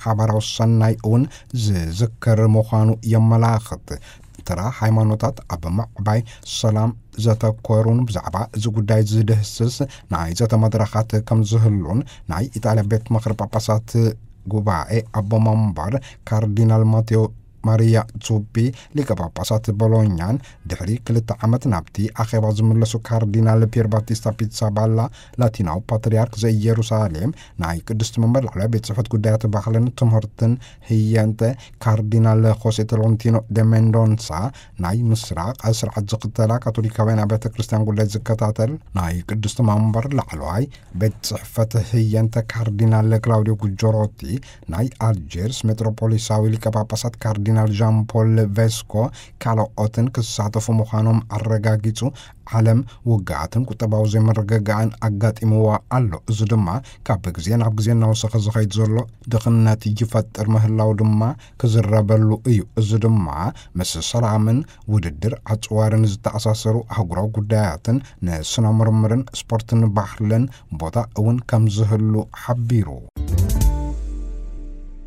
ሓባራዊ ሰናይ እውን ዝዝክር ምዃኑ የመላኽት። ተራ ሃይማኖታት ኣብ ምዕባይ ሰላም ዘተኮሩን ብዛዕባ እዚ ጉዳይ ዝድህስስ ናይ ዘተ መድረኻት ከም ዝህሉን ናይ ኢጣልያ ቤት ምኽሪ ጳጳሳት ጉባኤ ኣቦ መንበር ካርዲናል ማቴዎ ማሪያ ዙቢ፣ ሊቀ ጳጳሳት ቦሎኛን ድሕሪ ክልተ ዓመት ናብቲ ኣኼባ ዝምለሱ ካርዲናል ፒየር ባቲስታ ፒትሳባላ፣ ላቲናዊ ፓትርያርክ ዘኢየሩሳሌም፣ ናይ ቅድስቲ መንበር ላዕለዋይ ቤት ጽሕፈት ጉዳያት ባህልን ትምህርትን ህየንተ፣ ካርዲናል ሆሴ ቶሎንቲኖ ደ ሜንዶንሳ፣ ናይ ምስራቕ ስርዓት ዝኽተላ ካቶሊካውያን ኣብያተ ክርስቲያን ጉዳይ ዝከታተል ናይ ቅድስቲ መንበር ላዕለዋይ ቤት ጽሕፈት ህየንተ ካርዲናል ክላውዲዮ ጉጆሮቲ፣ ናይ ኣልጀርስ ሜትሮፖሊሳዊ ሊቀ ጳጳሳት ካርዲናል ዣን ፖል ቬስኮ፣ ካልኦትን ክሳተፉ ምዃኖም ኣረጋጊጹ። ዓለም ውግኣትን ቁጠባዊ ዘይምርግጋእን ኣጋጢምዋ ኣሎ። እዚ ድማ ካብ ግዜ ናብ ግዜ እናወሰኸ ዝኸይድ ዘሎ ድኽነት ይፈጥር ምህላው ድማ ክዝረበሉ እዩ። እዚ ድማ ምስ ሰላምን ውድድር ኣጽዋርን ዝተኣሳሰሩ ኣህጉራዊ ጉዳያትን ንስነ ምርምርን ስፖርትን ባህልን ቦታ እውን ከም ዝህሉ ሓቢሩ።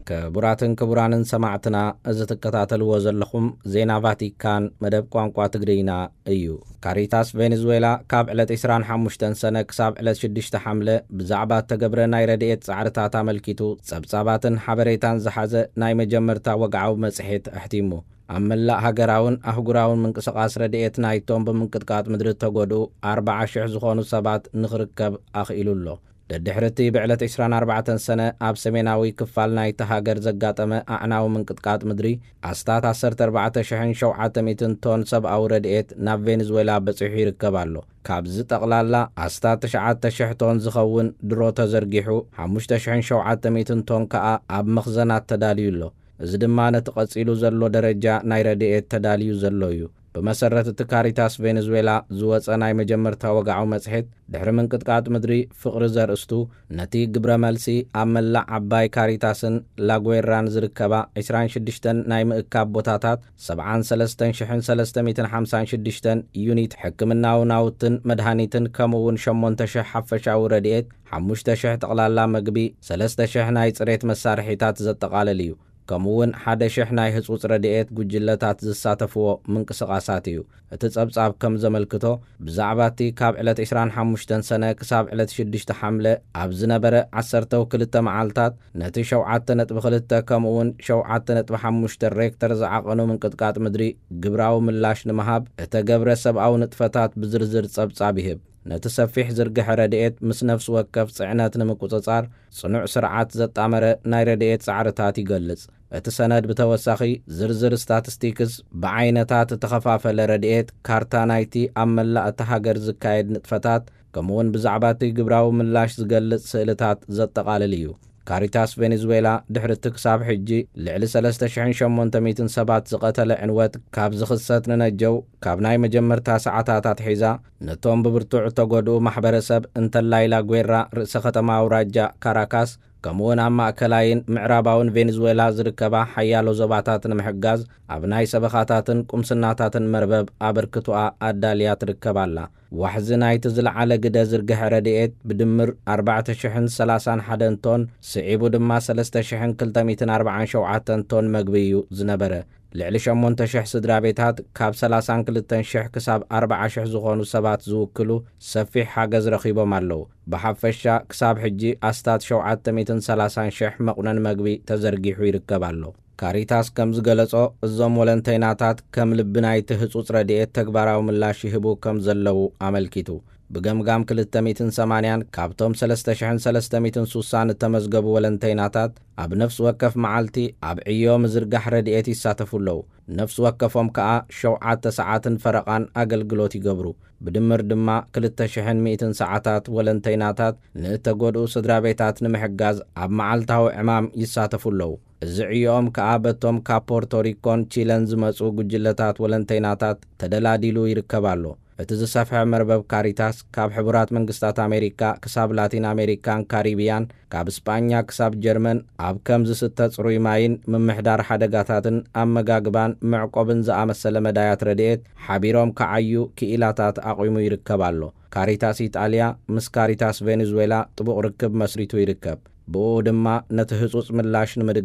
ክቡራትን ክቡራንን ሰማዕትና፣ እዚ ትከታተልዎ ዘለኹም ዜና ቫቲካን መደብ ቋንቋ ትግርኛ እዩ። ካሪታስ ቬኔዙዌላ ካብ ዕለት ዕስራን ሓሙሽተን ሰነ ክሳብ ዕለት ሽዱሽተ ሓምለ ብዛዕባ እተገብረ ናይ ረድኤት ጻዕርታት ኣመልኪቱ ጸብጻባትን ሓበሬታን ዝሓዘ ናይ መጀመርታ ወግዓዊ መጽሔት ኣሕቲሙ። ኣብ መላእ ሃገራውን ኣህጉራውን ምንቅስቓስ ረድኤት ናይቶም ብምንቅጥቃጥ ምድሪ እተጎድኡ ኣርብዓ ሽሕ ዝኾኑ ሰባት ንኽርከብ ኣኽኢሉ ኣሎ። ደድሕሪ እቲ ብዕለት ዕስራን ኣርባዕተን ሰነ ኣብ ሰሜናዊ ክፋል ናይታ ሃገር ዘጋጠመ ኣዕናዊ ምንቅጥቃጥ ምድሪ፣ ኣስታት ዓሰርተ ኣርባዕተ ሽሕን ሸውዓተ ሚእትን ቶን ሰብኣዊ ረድኤት ናብ ቬኔዙዌላ በጺሑ ይርከብ ኣሎ። ካብዚ ጠቕላላ ኣስታት ትሽዓተ ሽሕ ቶን ዝኸውን ድሮ ተዘርጊሑ፣ ሓሙሽተ ሽሕን ሸውዓተ ሚእትን ቶን ከኣ ኣብ መኽዘናት ተዳልዩ ኣሎ። እዚ ድማ ነቲ ቀጺሉ ዘሎ ደረጃ ናይ ረድኤት ተዳልዩ ዘሎ እዩ። ብመሰረት እቲ ካሪታስ ቬኔዙዌላ ዝወጸ ናይ መጀመርታ ወግዓዊ መጽሔት፣ ድሕሪ ምንቅጥቃጥ ምድሪ ፍቕሪ ዘርእስቱ፣ ነቲ ግብረ መልሲ ኣብ መላእ ዓባይ ካሪታስን ላጉዌራን ዝርከባ ዕስራን ሽዱሽተን ናይ ምእካብ ቦታታት፣ ሰብዓን ሰለስተን ሽሕን ሰለስተ ሚእትን ሓምሳን ሽዱሽተን ዩኒት ሕክምናዊ ናውትን መድሃኒትን፣ ከምኡ እውን ሸሞንተ ሽሕ ሓፈሻዊ ረድኤት፣ ሓሙሽተ ሽሕ ጠቕላላ መግቢ፣ ሰለስተ ሽሕ ናይ ጽሬት መሳርሒታት ዘጠቓልል እዩ። ከምኡ እውን ሓደ ሽሕ ናይ ህጹጽ ረድኤት ጉጅለታት ዝሳተፍዎ ምንቅስቓሳት እዩ። እቲ ጸብጻብ ከም ዘመልክቶ፣ ብዛዕባ እቲ ካብ ዕለት ዕስራን ሓሙሽተን ሰነ ክሳብ ዕለት ሽዱሽተ ሓምለ ኣብ ዝነበረ ዓሰርተው ክልተ መዓልታት፣ ነቲ ሸውዓተ ነጥቢ ክልተ ከምኡ እውን ሸውዓተ ነጥቢ ሓሙሽተ ሬክተር ዝዓቐኑ ምንቅጥቃጥ ምድሪ ግብራዊ ምላሽ ንምሃብ እተገብረ ሰብኣዊ ንጥፈታት ብዝርዝር ጸብጻብ ይህብ። ነቲ ሰፊሕ ዝርግሐ ረድኤት ምስ ነፍሲ ወከፍ ጽዕነት ንምቁጽጻር ጽኑዕ ስርዓት ዘጣመረ ናይ ረድኤት ጻዕርታት ይገልጽ። እቲ ሰነድ ብተወሳኺ ዝርዝር ስታቲስቲክስ፣ ብዓይነታት እተኸፋፈለ ረድኤት፣ ካርታ ናይቲ ኣብ መላእ እታ ሃገር ዝካየድ ንጥፈታት፣ ከምኡውን ብዛዕባ እቲ ግብራዊ ምላሽ ዝገልጽ ስእልታት ዘጠቓልል እዩ። ካሪታስ ቬኔዙዌላ ድሕሪ እቲ ክሳብ ሕጂ ልዕሊ ሰለስተ ሽሕን ሸሞንተ ሚእትን ሰባት ዝቐተለ ዕንወት ካብ ዝኽሰት ንነጀው፣ ካብ ናይ መጀመርታ ሰዓታት ኣትሒዛ ነቶም ብብርቱዕ እተጎድኡ ማሕበረሰብ፣ እንተላይ ላጉዌራ፣ ርእሰ ከተማ ኣውራጃ ካራካስ፣ ከምኡውን ኣብ ማእከላይን ምዕራባውን ቬኔዙዌላ ዝርከባ ሓያሎ ዞባታት ንምሕጋዝ፣ ኣብ ናይ ሰበኻታትን ቁምስናታትን መርበብ ኣበርክቶኣ ኣዳልያ ትርከብ ኣላ። ዋሕዚ ናይቲ ዝለዓለ ግደ ዝርግሐ ረድኤት ብድምር ኣርባዕተ ሽሕን ሰላሳን ሓደን ቶን፣ ስዒቡ ድማ ሰለስተ ሽሕን ክልተ ሚእትን ኣርባዓን ሸውዓተን ቶን መግቢ እዩ ዝነበረ። ልዕሊ ሸሞንተ ሽሕ ስድራ ቤታት ካብ ሰላሳን ክልተን ሽሕ ክሳብ ኣርብዓ ሽሕ ዝኾኑ ሰባት ዝውክሉ ሰፊሕ ሓገዝ ረኺቦም ኣለዉ። ብሓፈሻ ክሳብ ሕጂ ኣስታት ሸውዓተ ሚእትን ሰላሳን ሽሕ መቑነን መግቢ ተዘርጊሑ ይርከብ ኣሎ። ካሪታስ ከም ዝገለጾ፣ እዞም ወለንተይናታት ከም ልቢ ናይቲ ህጹጽ ረድኤት ተግባራዊ ምላሽ ይህቡ ከም ዘለዉ ኣመልኪቱ። ብገምጋም ክልተ ሚእትን ሰማንያን ካብቶም ሰለስተ ሽሕን ሰለስተ ሚእትን ሱሳን እተመዝገቡ ወለንተይናታት፣ ኣብ ነፍሲ ወከፍ መዓልቲ ኣብ ዕዮ ምዝርጋሕ ረድኤት ይሳተፉ ኣለዉ። ነፍሲ ወከፎም ከኣ ሸውዓተ ሰዓትን ፈረቓን ኣገልግሎት ይገብሩ። ብድምር ድማ ክልተ ሽሕን ሚእትን ሰዓታት ወለንተይናታት ንእተጎድኡ ስድራ ቤታት ንምሕጋዝ ኣብ መዓልታዊ ዕማም ይሳተፉ ኣለዉ። እዚ ዕዮኦም ከኣ በቶም ካብ ፖርቶሪኮን ቺለን ዝመጹ ጉጅለታት ወለንተይናታት ተደላዲሉ ይርከብ ኣሎ። እቲ ዝሰፍሐ መርበብ ካሪታስ፣ ካብ ሕቡራት መንግስታት ኣሜሪካ ክሳብ ላቲን ኣሜሪካን ካሪብያን፣ ካብ ስጳኛ ክሳብ ጀርመን፣ ኣብ ከም ዝስተ ጽሩይ ማይን ምምሕዳር ሓደጋታትን ኣመጋግባን መዕቆብን ዝኣመሰለ መዳያት ረድኤት ሓቢሮም ክዓዩ ክኢላታት ኣቑሙ ይርከብ ኣሎ። ካሪታስ ኢጣልያ ምስ ካሪታስ ቬኔዙዌላ ጥቡቕ ርክብ መስሪቱ ይርከብ። ብኡ ድማ ነቲ ህጹጽ ምላሽ ንምድጋፍ